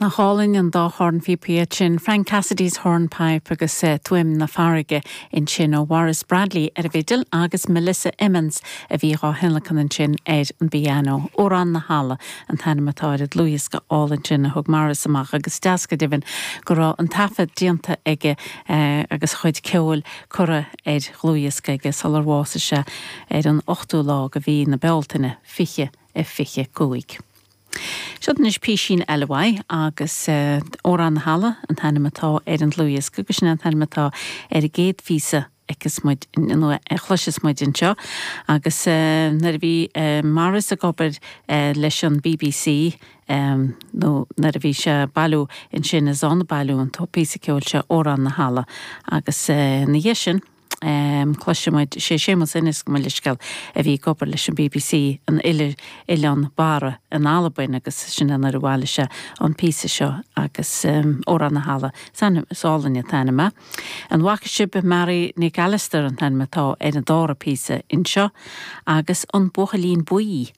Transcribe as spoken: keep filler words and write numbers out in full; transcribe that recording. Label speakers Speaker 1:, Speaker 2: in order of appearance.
Speaker 1: Nach álainn an dá chornphíopa sin Frank Cassidy's Hornpipe agus uh, Tuaim na Farraige ansin ó Maurice Bradley ar an bhfidil agus Melissa Emmons a bhí á thionlacan ansin ar an bpianó. Órán na hAlla an t-ainm atá ar an dlúthdhiosca álainn sin a thug Maurice amach agus deas go deimhin go raibh an taifead déanta aige uh, agus chuid ceoil curtha ar dhlúthdhiosca aige sular bhásaigh sé ar an ochtú lá de mhí na Bealtaine fiche a fiche cúig. Seo anois písín eile uaidh agus uh, Órán na hAlla an t-ainm atá ar an dlúthdhiosca agus sin an t-ainm atá ar an gcéad phíosa agus muid nó a chloisfeas muid anseo agus uh, nuair a bhí uh, Maurice ag obair uh, leis an BBC um, nó nuair a bhí sé bailiú ansin is ann a bailíodh an píosa ceoil seo Órán na hAlla agus uh, na dhiaidh sin Um, Cloisfimid sé Séamus Ennis go leisceil a bhí ag obair leis an BBC an ile Oileán Barra in Albain agus sin an a bhailigh sé an píosa seo agus um, Órán na hAlla san sálinne t-ainm. An bhfaca sibh Mary Nic Allister an t-ainm atá ar an dara píosa anseo agus an Buachaillín Buí